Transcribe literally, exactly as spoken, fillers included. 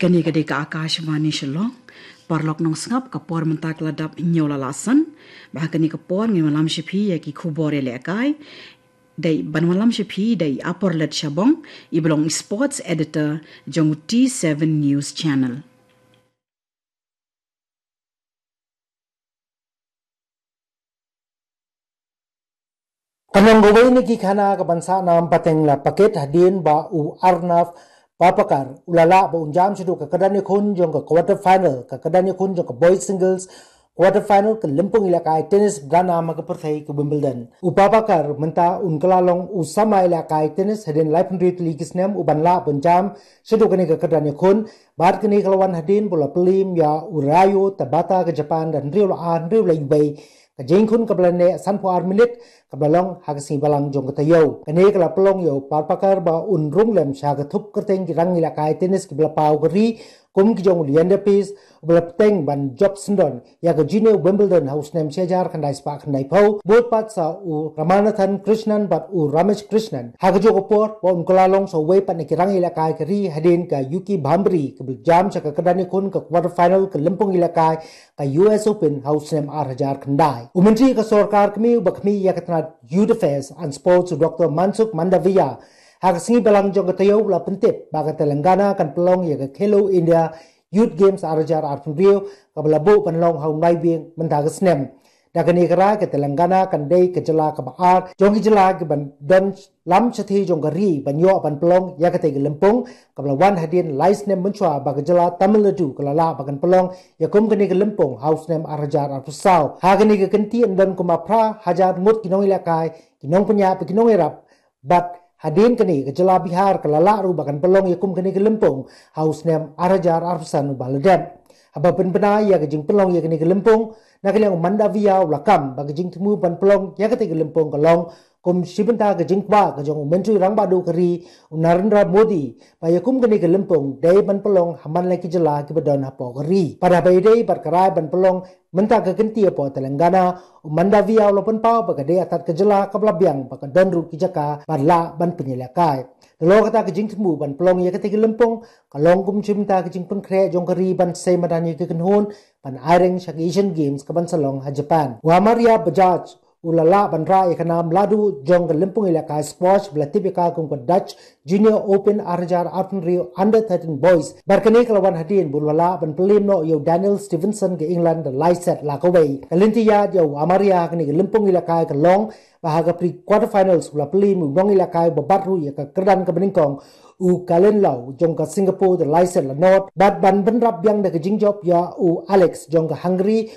Kane ka dei ka Akashvani Shillong. Paralok nongsngap, ka por mynta ka la dap hynñiew la lasan. Bad ha kane ka por ngin wallam sha phi ïa ki khubor ïalehkai. Dei ban wallam sha phi dei Aporlet Shabong, i ba long sports editor jong u T seven News Channel. Ka long kawei na ki khana kaban sah nam pateng la paket hadien ba u Arnav Papakar u la lah ba un jam shaduh ka kyrdan ïakhun jong ka quarter final, ka kyrdan ïakhun jong ka boys singles quarter final ka lympung ïalehkai tennis ba nam ha ka pyrthei ka Wimbledon. U Papakar mynta un kylla long u samla ïalehkai tennis hadien laiphew hynriew tylli ki snem uban lah ban jam shaduh kane ka kyrdan ïakhun. Bad kane ka la wan hadien ba u la pynliem ïa u Ryo Tabata ka Japan da hynriew la ar, hynriew la wei. Ka jingïakhun kaba la neh sanphew ar minit, kaba la long ha ka sngi Balang jong ka taïew. Kane ka la pynlong ïa u Papakar ba un rung lem sha ka thup kyrteng ki rangïalehkai tennis kiba la paw ka ri, kum ki jong u Leander Paes uba la bteng ban jop syndon ïa ka Junior Wimbledon ha u snem shi hajar khyndai spah khyndaiphew, bud pat sa u Ramanathan Krishnan bad u Ramesh Krishnan. Ha kajuh ka por ba un kylla long sa uwei pat na ki rangïalehkai ka ri hadien ka Yuki Bhambri kaba la jam sha ka kyrdan ïakhun ka quarter final ka lympung ïalehkai ka U S Open ha u snem ar hajar khyndai. U Myntri ka Sorkar Kmie uba khmih ïa ka tnad Youth Affairs and Sports, u Doktor Mansukh Mandaviya, ha ka sngi Balang jong ka taïew u la pyntip ba ka Telangana kan pynlong ïa ka Khelo India Youth Games ar hajar arphew hynriew, kaba la buh ban long ha u Naiwieng mynta ka snem. Da kane ka rai ka Telangana kan dei ka jylla kaba ar jong ki jylla kiban don lam shathie jong ka ri ban ïoh ban pynlong ïa katei ka lympung, kaba la wan hadien lai snem mynshuwa ba ka jylla Tamil Nadu ka la lah ba kan pynlong ïa kum kane ka lympung ha u snem ar hajar arphew saw. Ha kane ka kynti yn don kumba phra hajar ngut ki nongïalehkai, ki nongpynïaid bad ki nongïarap. Bad hadien kane ka jylla Bihar ka la lah ruh ba kan pynlong ïa kum kane ka lympung ha u snem ar hajar arphew san uba la dep. Haba pynbna ïa ka jingpynlong ïa kane ka lympung, na ka liang u Mandaviya u la kam ba ka jingthmu ban pynlong ïa katei ka lympung ka long kum shi bynta ka jingkwah ka jong u Myntri Rangbah Duh ka ri, u Narendra Modi, ba ïa kum kane ka lympung dei ban pynlong ha man la ki jylla kiba don hapoh ka ri. Bad haba ïadei bad ka rai ban pynlong mynta ka kynti hapoh Telangana, u Mandaviya u la pynpaw ba ka dei artat ka jylla kaba la biang ba ka don ruh ki jaka bad lah ban pynïalehkai. Nalor kata ka jingthmu ban pynlong ïa katei ka lympung ka long kum shi bynta ka jingpynkhreh jong ka ri ban sei madan ïa ka kynhun ban aireng sha ka Asian Games kaban sa long ha Japan. U Amaria Bajaj u la lah ban rah ïa ka nam la duh jong ka lympung ïalehkai squash ba la tip ïa ka kum ka Dutch Junior Open ar hajar arphew hynriew Under thirteen Boys. Bad kane ka la wan hadien ba u la lah ban pynliem noh ïa u Daniel Stevenson ka England da lai set la kawei. Ka lynti ïaid ïa u Amaria ha kane ka lympung ïalehkai ka long ba ha ka pre quarter finals u la pynliem u nongïalehkai uba bat ruh ïa ka kyrdan kaba nyngkong, u Kalin Lau jong ka Singapore da lai set la nod. Bad ban bynrap biang da ka jingjop ïa u Alex jong ka Hungary,